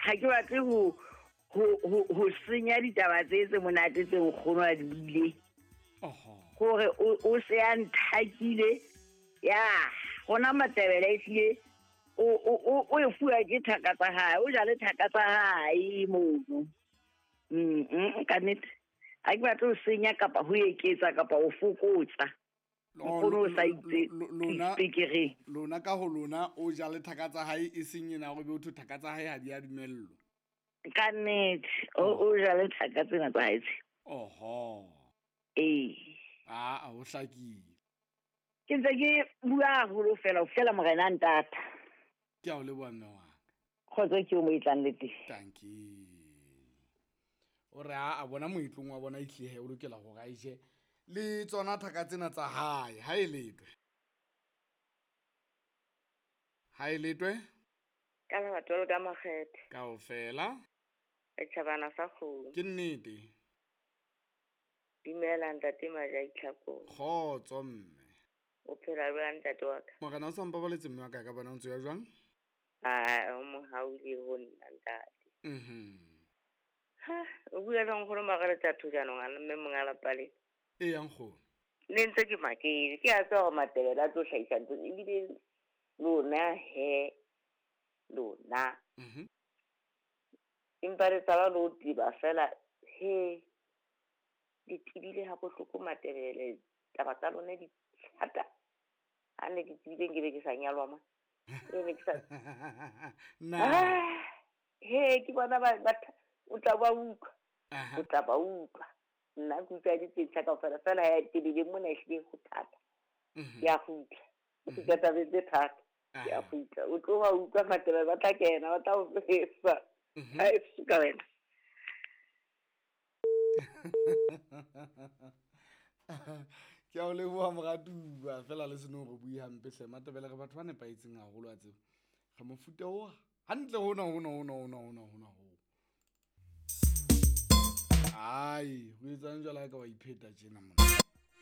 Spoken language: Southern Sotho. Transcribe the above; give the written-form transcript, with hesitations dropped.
Ga ke batle ho senya ditaba tse tse monate tse nkgono a di buileng. Gore o se a nthakile ya gona Matebele e tlile o e fuwa ke thaka tsa hae, o jale thaka tsa hae mono. Ka nnete ga ke batle ho senya kapa ho eketsa kapa ho fokotsa. Nkgono o sa itse speakereng. Lona ka ho lona o jale thaka tsa hae, e seng ena hore be o thwe thaka tsa hae ha di a dumellwa. Ka nnete o jale thaka tsena tsa hae tse. Oho. Ee. Aa, ho hlakile. Ke ntse ke bua haholo fela ho fihlela morena a ntata. Ke a o leboha mme wa ka. Kgotso ke o mo e tlang le teng. Dankie. O re a bona moetlong wa bona ehlile o lokela hore a je le tsona thaka tsena tsa hae. Ha e letwe. Ha e letwe. Ka lerato le ka makgethe. Kaofela. Re tjhabana sa kgomo. Ke nnete. Dumela ntate Majai Tlhakong. Kgotso mme. O phela jwang ntate wa ka? Morena o sa mpabaletse mme wa ka, ka bona o ntse ya jwang? Ah, o mohauli ho nna ntate. Ha, o bua le nkgono Margaret a Thujanong a mme monga lapa le. E yang nkgono. Ne ntse ke makele, ke a tseba hore Matebele a tlo hlahisa ntho ebile lona he lona. Empa le tshaba le ho teba fela he le tebile ha bohloko Matebele, taba tsa lona di thata. Ha ne ke tsebile nke be ke sa nyalwa ma. E ne ke sa Na. He ke bona ba o tla ba utlwa. O tla ba utlwa. Nna ke utlwa di tse kaofela fela ya tebile mona ehlile ho thata. Ke a kgutla. O kgutla tabeng tse thata. Ke a kgutla. O tlo ba utlwa Matebele ba tla kena, ba tla o fesa. Ha e suka wena. Ke a o leboha moratuwa fela le seno re bue hampe hle. Matebele re batho ba nepahetseng haholo a tseba. Re mofuta o hantle hona hona hona hona hona hona ho. Ai, ho etsang jwale ha ka wa ipheta tjena mona.